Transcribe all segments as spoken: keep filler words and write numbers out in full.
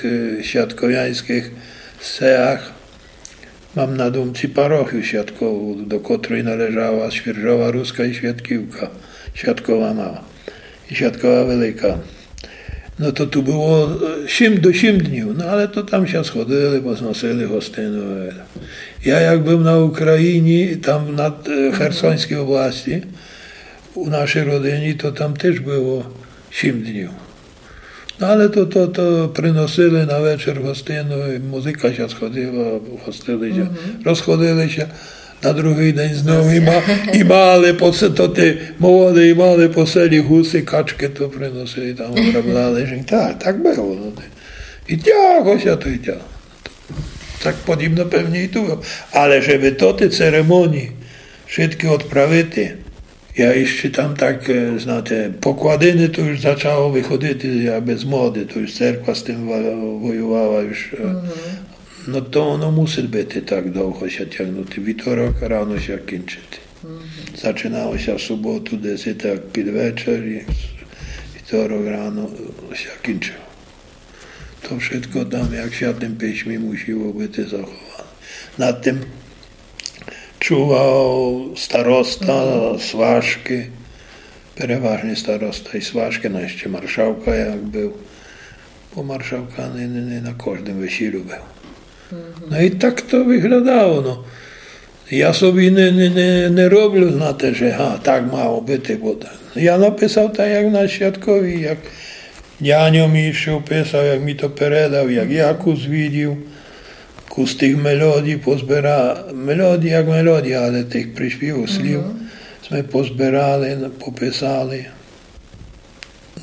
е, святковяньскых сеях. Мам на думци парохию Святкову, до котрой належала Свіржова Руска і Святківка, Святкова Мала і Святкова Велика. Но то ту было, е, сім, до сім днів, но але то там ся сходили, позносили гостину. Я як быв на Україні, там на, е, Херсоньскій области, у нашій родині, то там тыж было сім днів. Но але то, то, то приносили на вечер гостину, і музыка ся сходила, гостили ся, розходили ся. На другый день знов і ма-, і мали по се-, то ти молоды, і мали по селі гусы, качкы то приносили, там обробляли. Так, так было, но ти. І тягло ся то, і тягло. Так подібно певні і ту было. Але жебы тоты церемонії вшыткы одправити, я іщы там так, е, знате, покладины то уж зачало выходити, я без моды, то уж церква з тым ва-, воювала уж, е, но то оно мусит быти так довго ся тягнути. Вівторок рано ся кінчити. Зачинало ся в суботу десь так під вечер і вівторок рано ся кінчило. То вшытко там, як в Святым Письмі, мусило быти заховане. Над тым чував староста, сважкы, переважні староста і сважкы, но іщы маршалка як быв. Бо маршалка не, не, не на кождым весілю быв. Но і так то выглядало, но. Я собі не, не, не, не роблю, знате, же, га, так мало быти, бо так. Я написав так, як на Святкові, як няньо мій што писав, як мі то передав, як я кус видів, кус тых мелодій позбира-, мелодій як мелодій, але тых приспівув, слів сьме позбирали, пописали.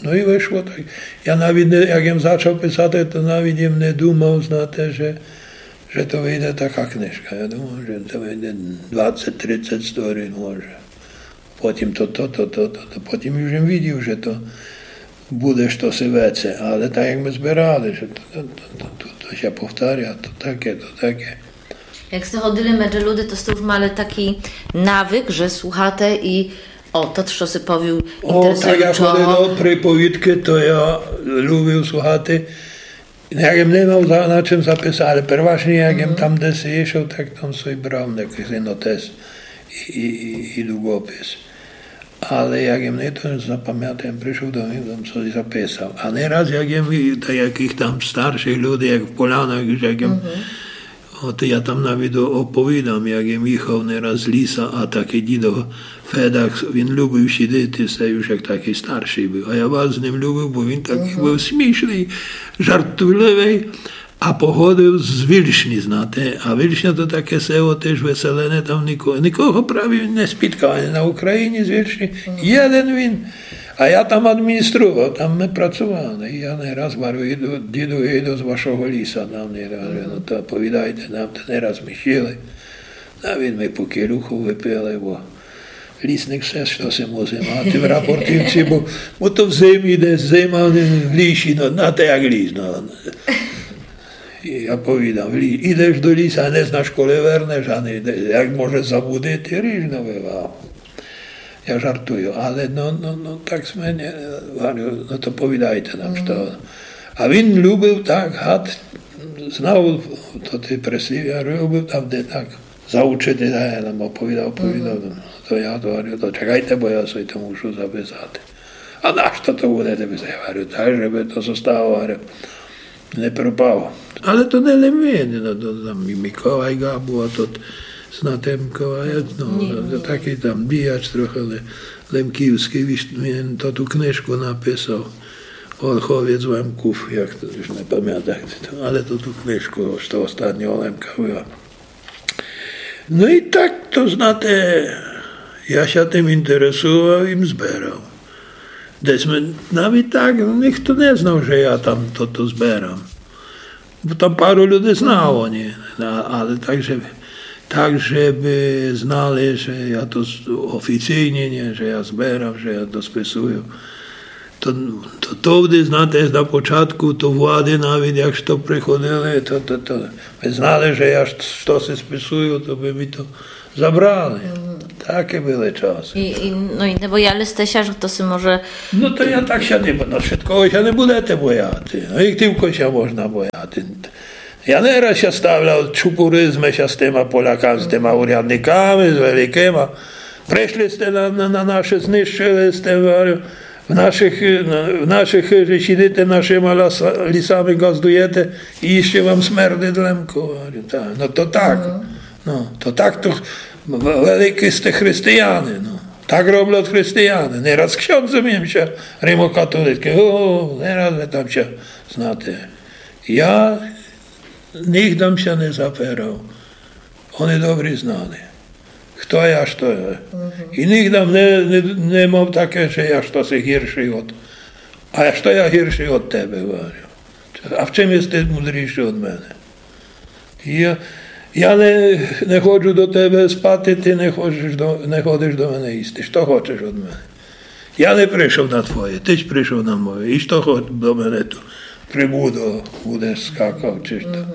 Но і вышло так. Я навіт не, як єм зачав писати, то навіт єм не думав, знате, же, же то выйде така книжка. Я думав, же то выйде двадцет-тридцет сторін, може. Потім то, то, то, то, то, то. Потім уж єм видів, же то буде штоси веце. Але так, як мы збирали, же то, то, то, то, то, то ся повторя, то таке, то таке. Як сте ходили меджи люди, то сте уж мали такій навык, же слухате і, о, тот штоси повів інтересуючого. О, так, як ходили до приповідкы, то я любив слухати. Як єм не мав за, на чым записати, але переважні, як єм там десь ішов, так там собі брав якысь нотес і, і, і, і дугопис. Але як єм не то запамятав, єм пришов домів, там собі записав. А не раз, як єм і-, та якых там старшых людей, як в Полянах, як єм, от я там навіт о-, оповідам, як єм їхав не раз з ліса, а такый дідо Федак, він любив сидіти, се уж як такый старшый быв. А я барз з ним любив, бо він такый быв смішный, жартівливый. А походив з Вільшні, знате. А Вільшня то таке село тыж выселене, там нико-, никого праві не спіткав, ані на Україні з Вільшні. Єден він. А я там адміністрував, там мы працували. І я не раз говорю: «Діду, діду, я йду з вашого ліса», там не раз, ну, то повідайте нам, то не раз мы сіли. А він, мы по келюху выпили, бо лісник все, што се мусить мати в Рапортівці, бо, бо то в зимі йде, зима в лісі, но, на те як ліс, но. І я повідав: «Лі-, ідеш до ліса, а не знаш, коли вернеш, а не йде, як може заблудити, ріжно бывало». Я жартую, але, но, но, но, так сьме не, говорю, но то повідайте нам, што. А він любив так, гад, знав то ті прислівя, любив там, де так заучити, да, я нам оповідав, оповідав. То я говорю: «То чекайте, бо я собі то мушу записати». «А нашто то будете писати?» Я говорю: «Так, жебы то зостало, говорю, не пропало». Але то не лем він, но, то там і Миколай Габу, а тот, знате Миколая, но, такый там діяч трохи, але лемківскый, віж, він то ту книжку написав, Ольховець Лемков, як то, уж не памятам, як то, але то ту книжку, што остатнього Лемка была. Но і так то, знате, я ся тым інтересував і збирав. Десь ми, навіт так, но, нихто не знав, же я там тото збирам. Бо там пару людей знало, ні? А, але так, же, так, жебы знали, же я то з-, офіційні, ні, же я збирам, же я то списую. То, то, товды, знате, на початку, то влады навіт, як што приходили, то, то, то, мы знали, же я ш-, штоси списую, то бы ми то забрали. Такі были часы. І, і, но і не бояли сте ся, же хто си може... Но то я так ся не бо-, но вшыткого ся не будете бояти. Но і тілько ся можна бояти. Я не раз ся ставляв, чупурили сме ся з тыма Поляками, з тыма урядниками, з великыма. Пришли сте на, на, на наше, знищыли сте, говорю, в нашых, е, на, в нашых хыжи сидите, нашыма ласа-, лісами ґаздуєте, і іщы вам смердит Лемко, говорю, та, но то так. Но, то так то х-, в-, великі сте християни, но. Так роблят християни. Не раз ксьондзом єм ся, римокатолицькым, о, не раз ми там ся, знате. Я нигдам ся не запирав. Они добрі знали, хто я, што я. І нигдам не, не, не мав таке, же я штоси гіршый од, а што я гіршый од тебе, говорю. А в чым єс ты мудрійшый од мене? Я, я не, не ходжу до тебе спати, ты не хочеш до, не ходиш до мене їсти. Што хочеш од мене? Я не пришов на твоє, ты ж пришов на моє. І што хоч до мене ту прибудо будеш скакав, чи што?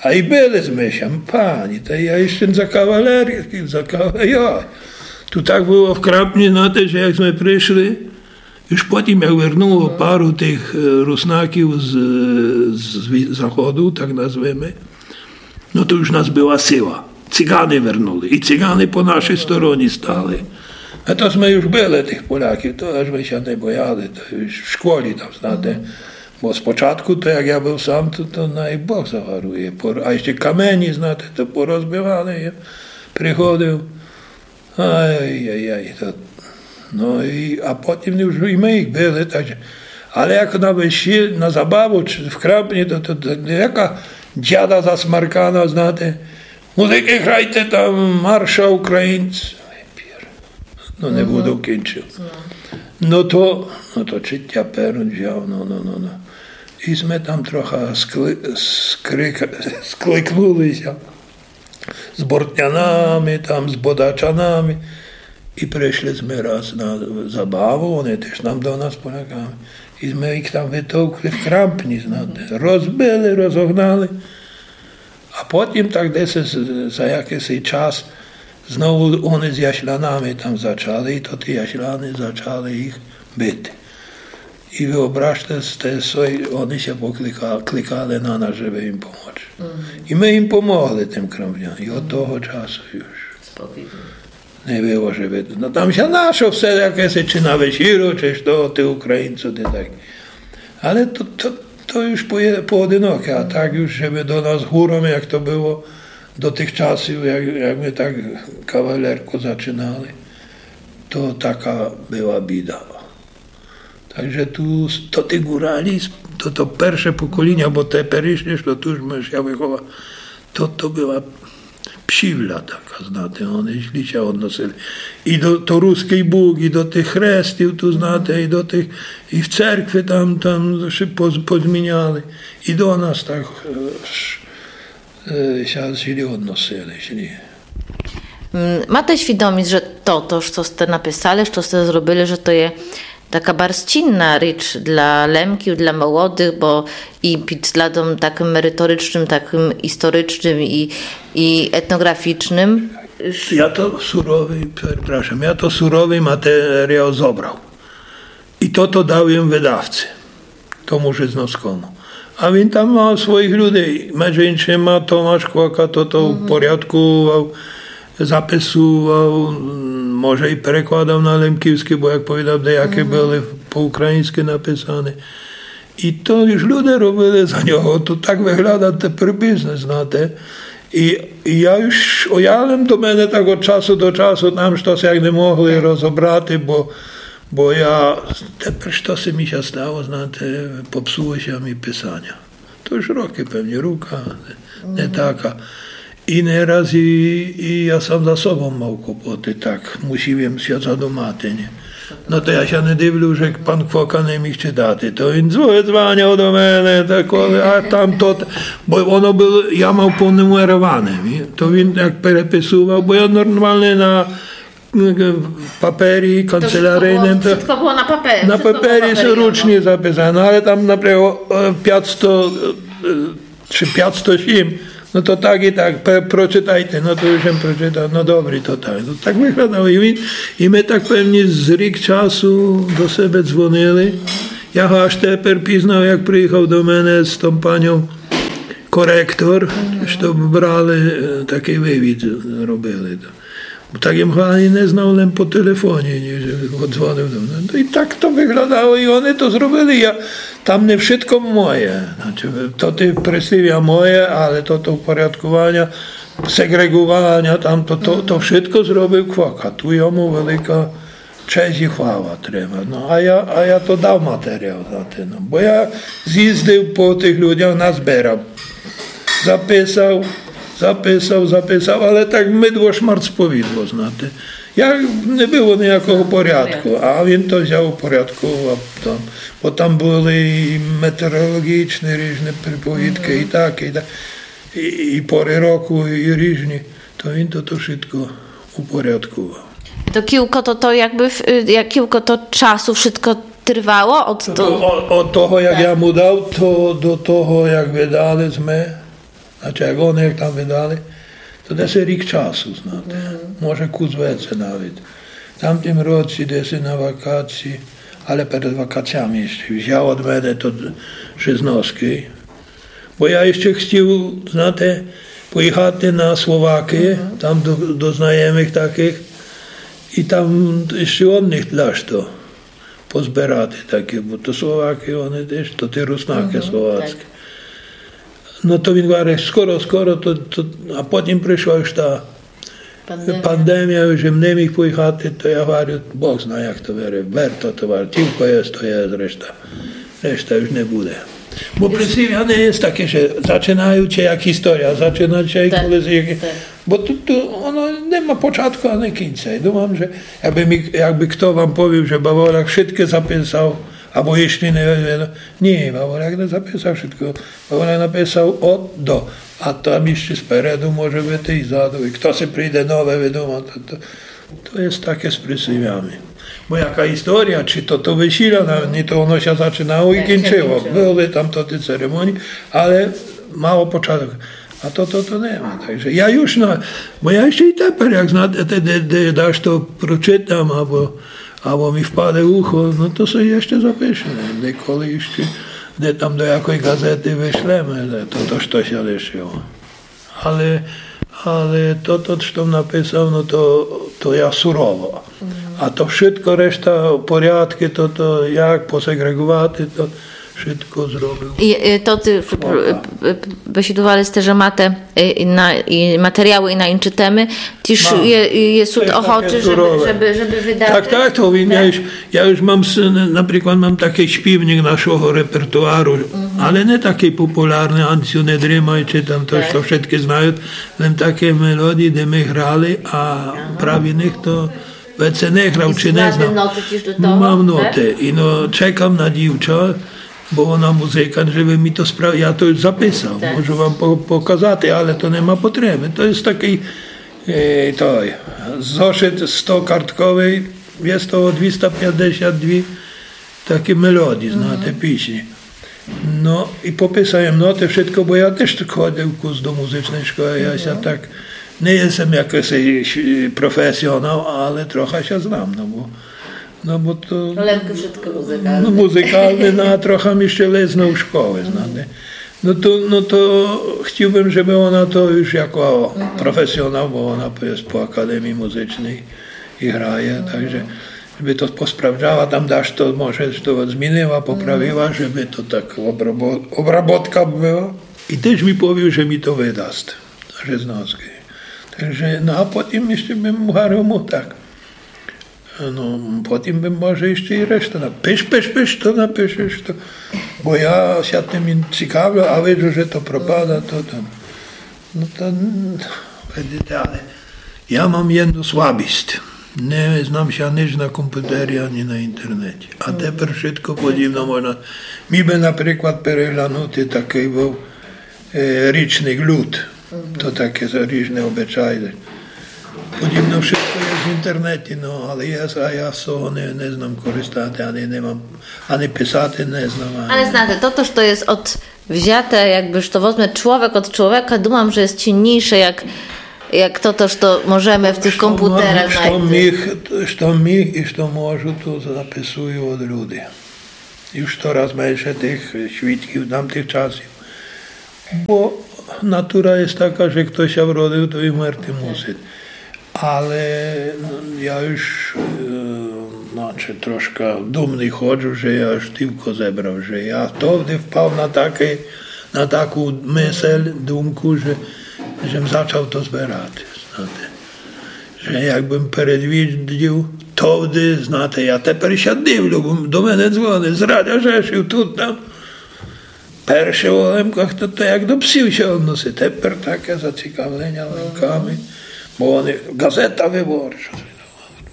А і били сме ся, пані, та я іщы за кавалерії, за кава-, йой. Ту так было в Крампні, знате, же як сме пришли, уж потім, як вернуло пару тых, е, руснаків з, з ві-, заходу, так назвеме, но то уж нас была сила. Циганы вернули. І циганы по нашій стороні стали. А то сме уж били тых Поляків, то аж мы ся не бояли, то уж в школі там, знате. Бо спочатку, то як я был сам, то, то най Бог загарує. По-, а іщы камені, знате, то порозбивали, я приходив. Ай-яй-яй, то, но і, а потім уж і мы їх били, так же. Але як на весілля, на забаву, чи в Крампні, то, то, то яка дяда засмаркана, знате, музыкы грайте там, марша українців. Но, не буду кінчив. Но то, но то читя перун взяв, но, но, но, но. І сме там троха скли-, скрик-, скликнули ся з бортнянами, там, з бодачанами. І пришли сме раз на забаву, они тыж там до нас, Поляками. І сме їх там вытовкли в Крампні, знате. Розбили, розогнали. А потім так десь з-, за якысь час знову они з яслянами там зачали, і то ті ясляни зачали їх бити. І выображте сте собі, они ся поклика-, кликали на нас, жебы їм помочи. І мы їм помогли, тым Крампнянам. І од того часу уж не было, жебы. Но там ся нашло всяке, чи на вечіру, чи што, ті українці, ті так. Але то, то, то уж по-, поодиноке, а так уж, жебы до нас гуром, як то было до тых часів, як, як мы так кавалерку зачинали, то така была біда. Так же ту с-, то ті гуралі, с-, то, то перше поколіня, бо теперішнє, што ту уж мы ся выхова-, то, то была псівля така, знате, они злі ся односили. І до, то руськый Бог, і до тых хрестів, ту, знате, і до тых, і в церкви там, там ся поз-, позміняли. І до нас так, е, ш-, е, ся злі односили, злі. М, мате свідоміст, же то, то, што сте написали, што сте зробили, же то є така барз цінна річ для Лемків, для молодых, бо і під взглядом такым мериторичным, такым історичным і, і етноґрафічным. Я то суровый, перепрашам, я то суровый матеріал зобрав. І тото дав єм выдавци, тому Жизновскому. А він там мав своїх людей. Межи іншыма Томаш Квака тото упорядковував, записував, м, може, і перекладав на лемківскый, бо, як повідав, деякі были по україньскы написаны. І то уж люде робили за нього, то так выглядат теперь бізнес, знате. І, і я уж, о, я лем до мене так од часу до часу там штось як не могли розобрати, бо, бо я, теперь штось ми ся стало, знате, попсуло ся ми писаня. То уж рокы, певні, рука не, не така. І не раз і, і я сам за собом мав клопоты, так, мусив єм ся задумати, ні? Но то я ся не дивлю, же пан Квока не міг читати. То він дзве-, дзваняв до мене, такоє, а там то, бо воно было, я мав понумероване, ні? То він як переписував, бо я нормалні на, е, папері канцелярийным, то вшытко было на папері, на папері ручні записане, але там, наприклад, е, пятсто, е, чи пятсто сім, Но то так і так, пе-, прочитайте, но то уж єм прочитав, но добрі, то так. Но так выглядало. І він, і мы так певні з рік часу до себе дзвонили. Я го аж тепер пізнав, як приїхав до мене з том паньом коректор, што брали, е, такый вывід робили. Бо так єм го ані не знав, лем по телефоні, ні, же одзвонив до мене. Но і так то выглядало, і они то зробили. Я, там не вшытко моє. Значыт, то ты прислівя моє, але то, то упорядкованя, сегрегованя, там то, то, то вшытко зробив Квака. Ту йому велика честь і хвала треба. Но, а я, а я то дав матеріал, знате, но. Бо я з'їздив по тых людях, назбирав. Записав, записав, записав, але так мидво шмарц повідло, знате. Я, не было ниякого порядку, а він то взяв, упорядковав там. Бо там были і метеорологічні ріжні приповідкы, і так, і так. І, і поры року, і ріжні. То він то, то вшытко упорядковав. То кілько то, то якбы, в-, е, як кілько то часу вшытко тривало од того? Од, од того, як я му дав, то до того, як выдали сьме, значыт, як они як там выдали, то десь рік часу, знате. Може, кус веце навіт. В тамтім році десь на вакації, але перед вакаціями іщы взяв од мене то Жизновскый. Бо я іщы хтів, знате, поїхати на Словакы, там до, до знайомых такых, і там іщы од них дашто позбирати таке, бо то Словакы, они тіж, то ті руснакы словацкі. Но то він говорить, скоро, скоро, то, то, а потім пришла уж та пандемія, уж єм не міг поїхати, то я говорю, Бог зна, як то вере, верто то вере, тілько єст, то єст, решта, решта уж не буде. Бо прислівя не єст таке, же зачынаючи як історія, зачынаючи як колись як... Бо ту, ту оно не ма початку ани кінця. І думам, же якбы мі, якбы хто вам повів, же Баволяк вшыткы записав, або іщы не, не, ні, Баволяк не записав вшытко. Баволяк написав од до, а там іщы спереду може быти і ззаду. І хто си прийде нове выдумати, то, то єст таке з прислівями. Бо яка історія, чи то, то весіля, на, ні, то оно ся зачынаło і кінчыло. Были там то ті церемонії, але мало початок. А то, то, то нема. Так же я уж на, бо я іщы і тепер, як знате, де, де, де дашто прочытам, або, або мі впаде в ухо, но то собі іщы запишем. Деколи іщы, де там до якой газеты вышлеме, то, то, што ся лишыло. Але, але то, то, што написав, но то, то я сурово. А то вшытко решта порядкы, то, то як посеґреґовати, то вшытко зробив. І, е, то ты, е, е, бесідували сте, же мате, е, і на, і матеріалы, і на інчы темы, тіж є, є суд охочы, жебы, жебы выдати. Так, так, то він, я уж, я уж мам, наприклад, мам такый шпівнік нашого репертуару, але не такый популярный, Анцю не дримай, чи там то, што вшыткы знают, лем такы мелодії, де мы грали, а праві ніхто веце не грав, чи не знав. Мам ноты. І но, чекам на дівча, бо она музыкант, жебы мі то справ-, я то уж записав, можу вам по-, показати, але то нема потребы. То єст такый, е, той, зошыт стокартковый, єст того двіста пятдесят дві такі мелодії, знате, пісні. Но, і пописав єм ноты, вшытко, бо я тіж ходив кус до музычной школы, я ся так, не єсем якысь, е, професіонал, але троха ся знам, но бо, но бо то... Лемкы вшытко музыкалны. Но, музыкалны, но, а троха мі іщы лизнув школы, знате. Но то, но то хтів бым, жебы она то уж яко професіонал, бо она єст по академії музычній і грає, так же жебы то посправджала, там дашто, може, што змінила, поправила, жебы то так обрабо-, обработка была. І тіж мі повів, же мі то выдаст, Жизновскый. Так же, но а потім іщы бым гварив му так. Но, потім бым, може, іщы і решта на-, пиш, пиш, пиш, што напишеш, што. Бо я ся тым і цікавлю, а виджу, же то пропада, то там. Но то, м, видите, але я мам єдну слабіст. Не знам ся нич на компютері, ані на інтернеті. А тепер вшытко подібно можна. Мі бы, наприклад, переглянути такый быв, е, річник, люд. То таке за ріжны обычаї. Подібно вшытко єст в інтернеті, но, але єст, а я з того не, не знам користати, ані не мам, ані писати не знам, ані... Але знате, тото, што єст од взяте, якбы, што возме чловек од чловека, думам, же єст ціннійше, як, як тото, што можеме в тых компутерах знайти. Што міг, што міг і што можу, то записую од люди. Уж кораз менше тых свідків тамтых часів. Бо натура єст така, же хто ся вродив, то і вмерти мусить. Але, но, я уж, е, значыт, трошка думный ходжу, же я уж тілько зебрав, же я товды впав на такый, на таку мысль, думку, же, же м зачав то зберати, знате. Же якбым передвидів товды, знате, я тепер ся дивлю, бо до мене дзвонять з Радя Жешів тут, там. Перше о Лемках то, то як до псів ся односить. Тепер таке зацікавленя Лемками, бо они, газета Выборча.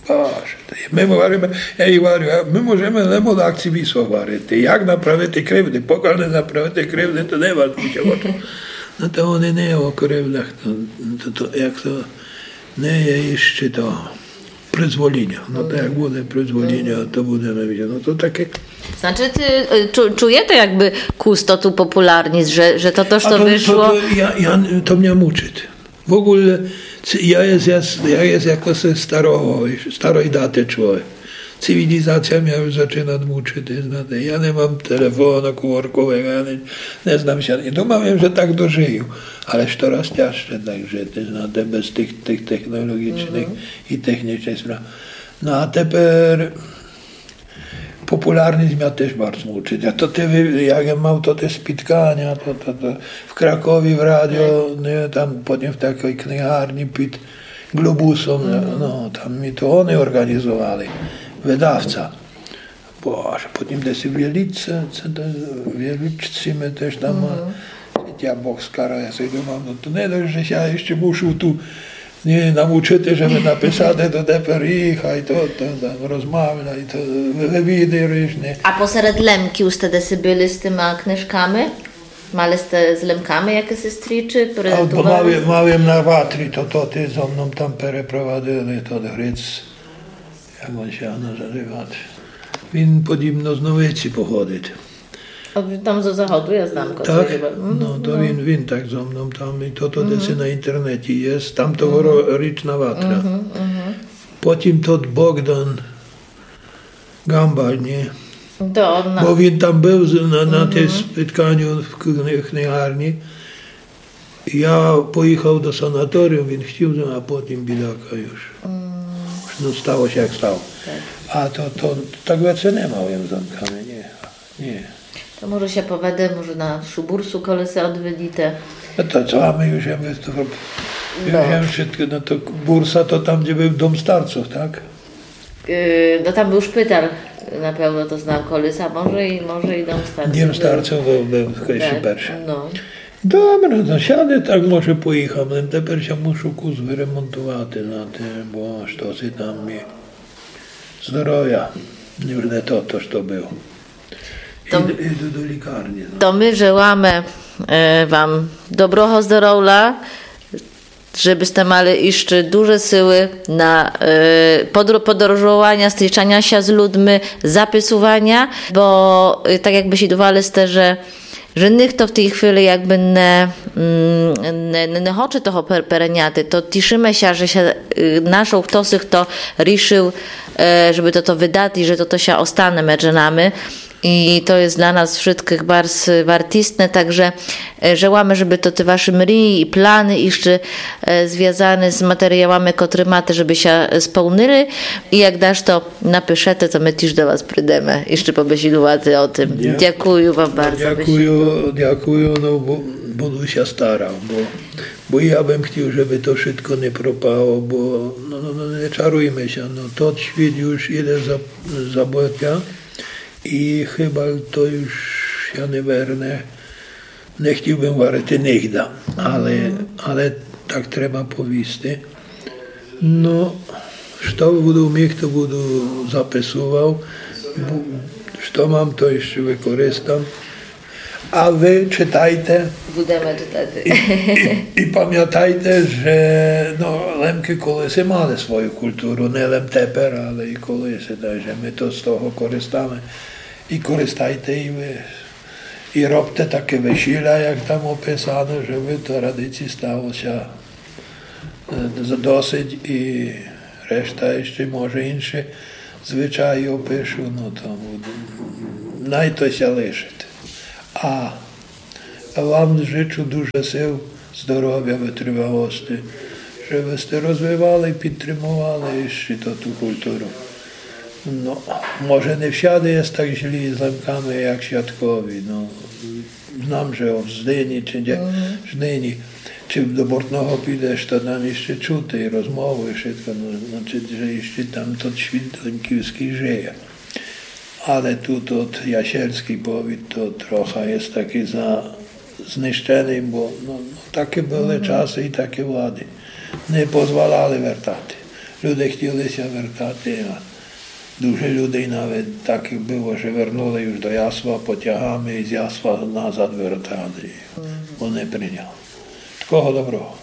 Боже, то є, мы говориме, я їм говорю, а мы можеме лем од акції Вісла говорити. Як направити кривды? Покаль не направите кривды, то не вас буде очі. Но то они не о кривдах, то, то, то, як то, не є іщи то призволіня. Но то як буде призволіня, то будеме видіти. Но то таке. Значыт, е, чу-, чуєте якбы кус тоту популярность, же, же то, то, што то, вышло? То, я, я, то мня мучыт. В оґулі, ци-, я єст, я єст, я єст якоси старого, старой даты чловек. Цивілізація мя уж зачына мучыти, знате. Я не мам телефону коморкового, я не, не знам ся. І думав єм, же так дожыю. Але ж кораз тяжче так жыти, знате, без тых, тых технолоґічных і технічных справ. Но а тепер популярность мя тіж барз мучыт. А то ты, як я мав то те спітканя, то, то, то в Кракові в радіо, не, там потім в такій книгарні під Глобусом, но, там ми то они орґанізовали, выдавця. Боже, потім десь у Вілічці, ци де, у Вілічці мы тіж там, а, я Бог скарав, я собі думав, но то не досьт, же ся іщи мушу ту, не, намучыти, жебы написати, то тепер їхай, то, то, там, розмавляй, то, вывіды ріжны. А посеред Лемків сте десь были з тыма книжками? Мали сте з Лемками якысь стрічы, презентували? А, мав єм, мав єм на Ватрі, то, то ти зо мном там перепровадили, тот Гриц. Як он ся называт? Він подібно з Новиці походит. А він там зо заходу, я знам, котрый хіба. Так? Но, то він, він так зо мном там, і то, то десь на інтернеті єст. Там то горо-, річна Ватра. Потім тот Богдан Гамбаль, ні? Бо він там быв з-, на, на тым спітканю в кни-, книгарні. Я поїхав до санаторію, він хотів, а потім бідака уж. Но, стало ся, як стало. Так. А то, то, так веце не мав єм з Лемками, ні. Ні. То може ся поведе, може нашу бурсу колиси одвідите. Но то цо, а мы уж єм выступов-, уж єм вшытко, но то бурса то там, дзе быв дом старців, так? Е, но там быв шпиталь, напевно, то знав колиси, а може і, може і дом старців. Дом старців быв, быв, так, першый. Но. Добре, но сяде, так може поїхам, лем тепер ся мушу кус выремонтувати, знате, бо штоси там мі здоровя уж не то, то, што быв. То іду, іду до лікарні, но. То мы желаме, е, вам доброго здоровля, жебы сте мали іщы дуже силы на, е, подро-, подорожованя, стрічаня ся з людми, записуваня, бо, е, так як бесідували сте, же, же нихто в тій хвили якбы не, м, не, не, не хоче того пер-, переняти, то тішыме ся, же ся, е, нашол хтоси, хто рішыл, е, жебы тото выдати і же тото ся остане медже нами. І то єст для нас вшыткых барз вартісне, так же, е, желаме, жебы то ты вашы мрії і планы іщы, е, звязаны з матеріялами, котры мате, жебы ся, е, сполнили. І як дашто напишете, то мы тіж до вас придеме іщы побесідувати о тым. Дя-, дякую вам барз за бесіду. Дякую, дякую, но, бу-, буду ся старал, бо, бо я бым хотів, жебы то вшытко не пропало, бо, но, но, но, не чаруйме ся, но, тот світ уж іде за, забытя. І хыба то уж ся не верне. Не хотів бым говорити нигда, але, але так треба повісти. Но, што буду міг, то буду записував. Бу-, што мам, то іщы выкористам. А вы читайте. Будеме читати. І, і, і памятайте, же, но, Лемкы колиси мали свою културу, не лем тепер, але і колиси, так же мы то з того користаме. І користайте і вы. І робте таке весіля, як там описано, жебы то радиці стало ся, е, з-, досить, і решта іщи, може, іншы звычаї опишу, но то буде, най то ся лишить. А, а вам жычу дуже сил, здоровя, вытривалости, жебы сте розвивали і підтримовали іщи тоту културу. Но, може, не всяды єст так злі з Лемками, як Святкові. Но, знам, же в Здыні, чи де, Здыні, чи до Бортного підеш, то там іщи чути і розмову, і вшытко, но, значить, же іщи там тот світ лемківскый жыє. Але ту тот Ясельскый повіт, то троха єст такый за-, знищеный, бо, но, но, такы были часы і такы влады. Не позволяли вертати. Люде хтіли ся вертати, а дуже людей навет такых было, же вернули уж до Ясла потягами і з Ясла назад вертали. Бо не прийняли. Такого доброго.